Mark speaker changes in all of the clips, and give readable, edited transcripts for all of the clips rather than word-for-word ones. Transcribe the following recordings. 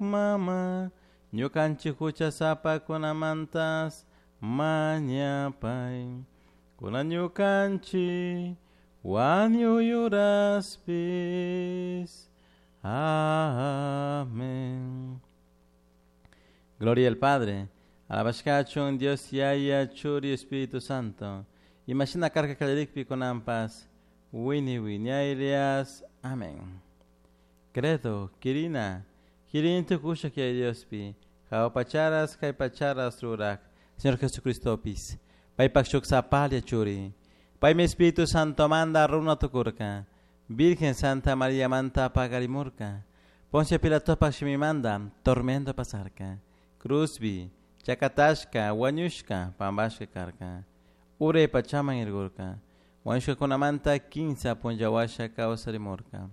Speaker 1: Mama, ñukanchik huchasapakunamantas mañapay. Kunan ñukanchik wañuy uraspis. Amén. Gloria al Padre, alabashkachun Dios Yaya, Churi, Espíritu Santo. Imashina karka kallarikpi kunanpas, wiñay wiñaylias. Amén. Credo, Quirina, Quirin tukusha que Diospi, jahua pacharas, kay pacharas rurak, Señor Jesucristopis, paypak shuk sapalla churi, paymi Espíritu Santo manda runa tukurka, Virgen Santa María manta pagarimurka, Poncio Pilatopak shimimanda tormento pasarka, Cruzbi, chakatashka, wañushka, pambashka karka, uray pachaman irgurka, wañushkakunamanta kinsa punlla kawsarimurka,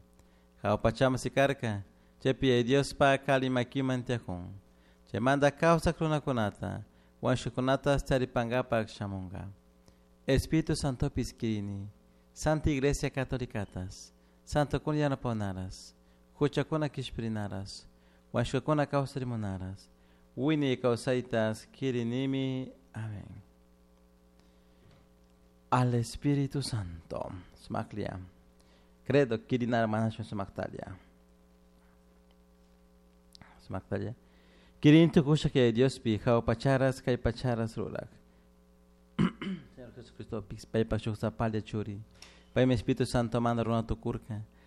Speaker 1: jahua pachaman sikarka, chaypi Diospa ali makiman tiyakun, chaymanta kawsak runakunata, wañushkakunata taripankapak shamunka. Espíritu Santopis kirini, Santa Iglesia Catolicatas, Santo kun yanapanaras, huchakuna kishpirinaras, wañushkakuna kawsarimunaras, wiñay kawsaytas kirinimi. Amén. Al Espíritu Santo. Sumaklia. Credo kirinar manashun sumaktalia. Sumaktalia. Kirin tukusha que Diospi, jahua pacharas, kay pacharas rurak. Señor Jesucristo, paypak shuk sapalla churi. Paymi Espíritu Santo manda runa tukurka.